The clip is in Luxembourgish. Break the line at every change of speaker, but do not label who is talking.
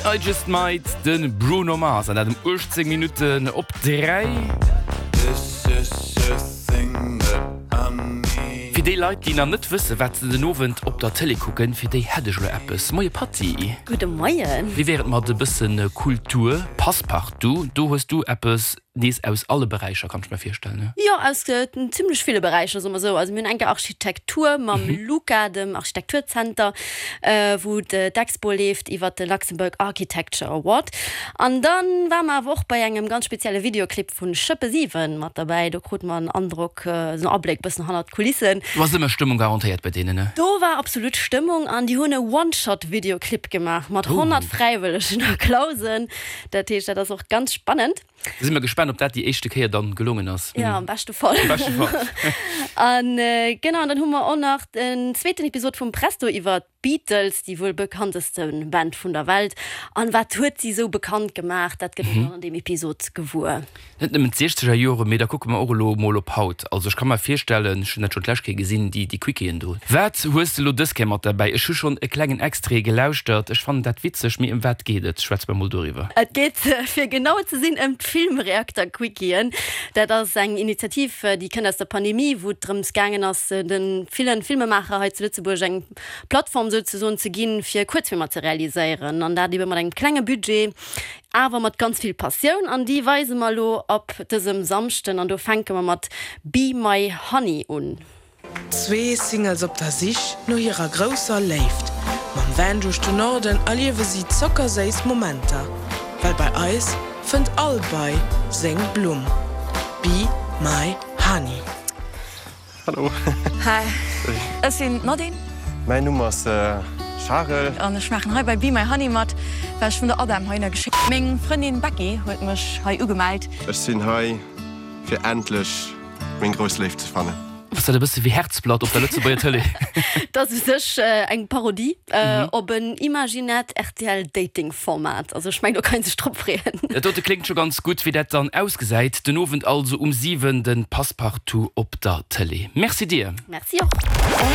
I Just Might, de Bruno Mars, an dat um 18 Minutten op 3. Fir déi Leit, déi nach net wëssen, wat se den Owend op der Tëlee kucken, fir déi hätt ech elo eppes. Moie Patty.
Gudde Moien.
Wéi wär et mat e bësse Kultur? Passepartout, do hues du eppes nees aus alle Beräicher, kann ech mer virstellen, ne?
Jo, aus zimlech ville Beräicher, soe mer esou. Also mir hunn enker Architektur mam LUCA, dem Architekturzenter, wou d'Expo leeft iwwert de Luxembourg Architecture Award. An da ware mer awer och bei engem ganz spezielle Videoclip vu Schëppe 7 mat derbäi. Do krute mer en Androck, esou en Abléck bëssen hannert d'Kulissen.
Do ass ëmmer Stëmmung garantéiert bei deenen, ne?
Do war absolut Stëmmung an déi hunn e One-Shot-Videoclip gemaach mat 100 Fräiwëllegen a Clausen. Dat heescht, dat ass och ganz spannend.
Da si mer gespaant, ob dat déi éischte Kéier dann gelongen ass.
Jo, am beschte Fall.
Am beschte Fall.
An genau, an dann hu mer och nach den zweeten Episod vum Presto iwwer d'Beatles, déi wuel bekannteste Band vun der Welt. An wat huet si esou bekannt gemaach, dat gëtt een dann an deem Episod gewuer.
Net nëmmen d'siechzeger Joren, mee da kucke mer och elo mol op haut. Also ech ka mer virstellen, ech hunn dat schonn d'lescht Kéier gesinn, déi déi Quickiën do. Wat hues de elo dës Kéier mat derbäi? Ech hu schonn e klengen Extrait gelauschtert, ech fannen dat witzeg, mee ëm wat geet et? Schwätz mer mol doriwwer.
Et geet, fir genau ze sinn, ëm d'Filmreakter-Quickien. Dat ass eng Initiativ, déi kënnt aus der Pandemie, wou et drëms gaangen ass, de villen Filmemaacher hei zu Lëtzebuerg eng Plattform souzesoen ze ginn, fir Kuerzfilmer ze realiséieren, an dat ebe mat engem klenge Budget, awer mat ganz vill Passioun. An déi weise mer elo ab dësem Samschden, an do fänke mer mat Be My Honey un.
Zwee Singles op der Sich no hirer grousser Léift. Mam Van duerch de Norden erliewe si zockerséiss Momenter, well bei eis fënnt all Bei seng Blumm. Be my honey.
Hallo.
Hi, ech sinn d'Nadine.
Mäin Numm ass Charel.
An ech maachen hei bei Be My Honey mat, well ech vun der Adam heihinner geschéckt. Meng Frëndin Becky huet mech hei ugemellt.
Ech sinn hei fir endlech meng grouss Léift ze fannen.
Ass dat e bësse wéi Herzblatt op der Lëtzebuerger Tëlee?
Dat ass u sech eng Parodie op en imaginäert RTL-Dating-Format. Also ech mengen, do kann ee sech drop freeën.
Dat dote kléngt scho ganz gutt. Wéi dat dann ausgesäit, den Owend also um 7 de Passepartout op der Tëlee. Merci dir!
Merci och.